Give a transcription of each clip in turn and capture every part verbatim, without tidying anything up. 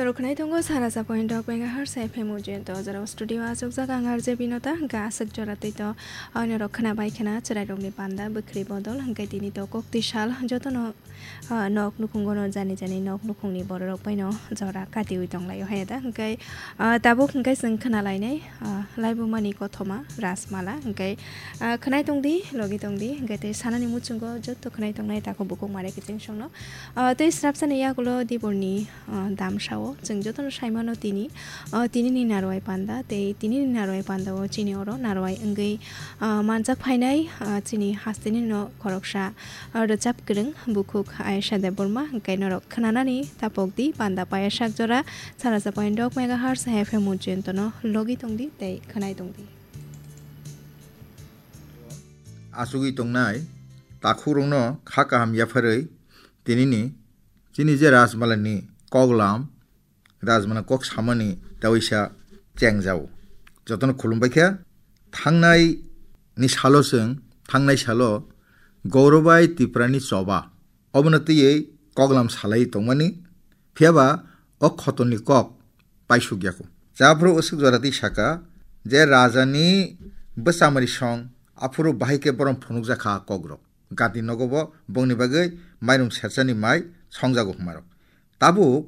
Rokhnai tongo sara sa point dok megahertz F M Ujento, jora studio aswk jaga ang R J Binota, hwnkhe aswk jora twi to, ah, norok khna bai khna chwrai rokni panda bwkhri bodol, hwnkhe tini to kok twi sal jotono, ah, nok nukhungo no jani jani nok nukhungni bororok bai no jora katiwi tonglaio hai da, hwnkhe, ah, tabuk hwnkhe chwng khna lainai, ah, laibumani kothoma Rajmala, hwnkhe, ah, khwnai tongdi, logi tongdi, hwnkhe tei sanani muchungo joto khwnai tongnai takhuk bukhuk mare kiching songno, ah, tei srapsani yagulo diborni ah, damsao chwng jotono saimano tini, ah, tinini narwai panda tei tinini narwai pandao chini oro narwai wngwi, ah, manjak phainai, ah, chini hasteni no khoroksa, ah, rwchap kwrwng bukhuk Ayesha Debbarma, hwnkhe norok khwnanani tapokdi panda paya sak jora sara sa point dok megahertz F M Ujento no logi tongdi tei khwnai tongdi. Asugwi tongnai takhukrokno kha kaham yapharwi tinini chini je Rajmalani koklam, Rajmala kok samani taisa chengjao. Jotono khulumbai khe, thangnai ni salo chwng, thangnai salo Gaurabai Tiprani choba. Obono twiwi koklam salai tongmani, phiyaba o khotolni kok paisuk yakho. Japhuru usuk jora twi saka je rajani bwchamari song, aphuru bahai khe borom phunukjakha kokrok. Gati nogo bo bongni bagwi mairum serchani mai songjago hwnmarok. Tabuk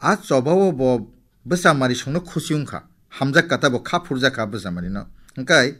a chobao bo bwchamari songno khusi wngkha, hamjak kata bo kha phurjakha bwchamarino. Hwnkhe